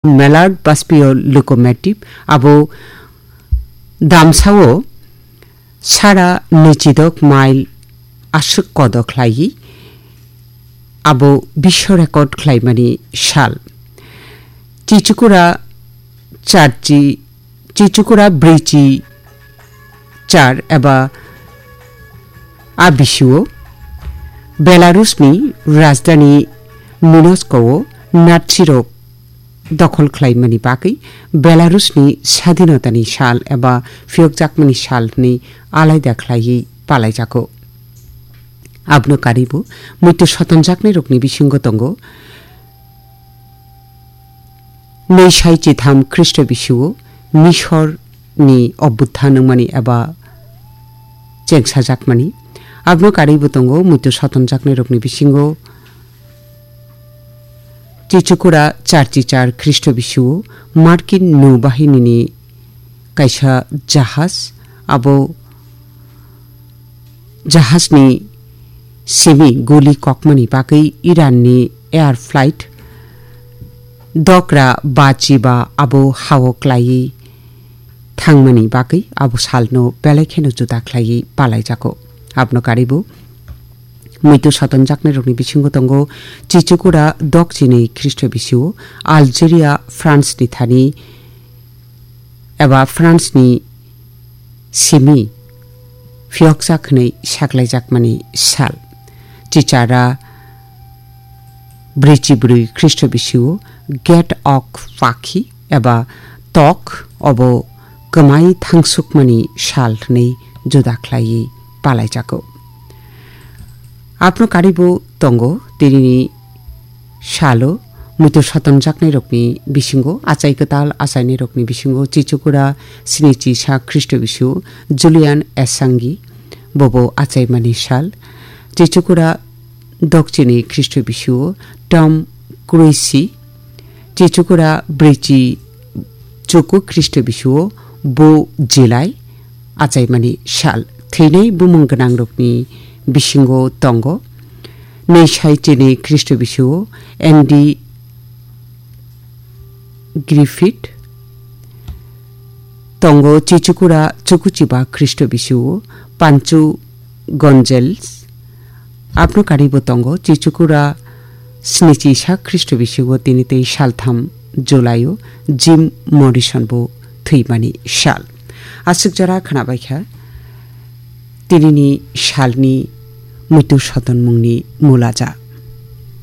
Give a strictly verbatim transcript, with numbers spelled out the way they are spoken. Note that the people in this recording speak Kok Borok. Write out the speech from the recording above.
Mallard Baspio Locomotive abo damsao sara nwichidok mile aswk kodo khlaiwi abo biswa record khlaimani sal. Chichukura charchi, Chichukura bwrwichi char eba a bisio Belarusni rajdhani Minsko-o Nazirok dokhol khlaimani bagwi Belarusni sadhinotani sal eba phiyokjakmani sal hwnwi alaida khlaiwi palaijago. Abno karibo muitu sotonjaknairokni bisingo tongo nwi sai chitham Khristo bisio Misorni obutha nungmani eba chengsajakmani. Abno karibo tongo muitu sotonjaknairokni bisingo Chichukura charchi char Khristo bisio Markin nau bahinini kaisa jahaj, abo jahajni simi guli kokmani bagwi Iranni air flight dokra bachi ba abo hao klaiwi thangmani bagwi abo salno belai kheno juda khlaiwi palaijago. Abno karibo muitu sotonjaknairokni bisingo tongo Chichukura dokchini Khristo bisio Algeria, France ni thani eba France ni simi phiyokjak hwnwi saklaijakmani sal. Chichara bwrwichi bwrwi Khristo bisio Gate of Pakhi eba tok obo kwmai thangsukmani sal hwnwi juda khlaiwi palaijago. Abno karibo tongo tinini salo muitu sotonjaknairokni bisingo, achai kwtal achainairokni bisingo Chichukura sinichi sa Khristo bisio Julian Assange bobo achaimani sal, Chichukura dokchini Khristo bisio Tom Cruise, Chichukura bwrwichi chuku Khristo bisio Bo Xilai achaimani sal. Thwinai bumung gwnangrokni bisingo tongo nwi sai chini Khristo bisio Andy Griffith, tongo Chichukura chukuchiba Khristo bisio Pancho Gonzalez, abno karibo tongo Chichukura sinichi sa Khristo bisingo tini tei saltham July-o Jim Morrison bo thwimani sal. Aswk jora khnabaikha tinini salni muitu sotonmungni mulaja.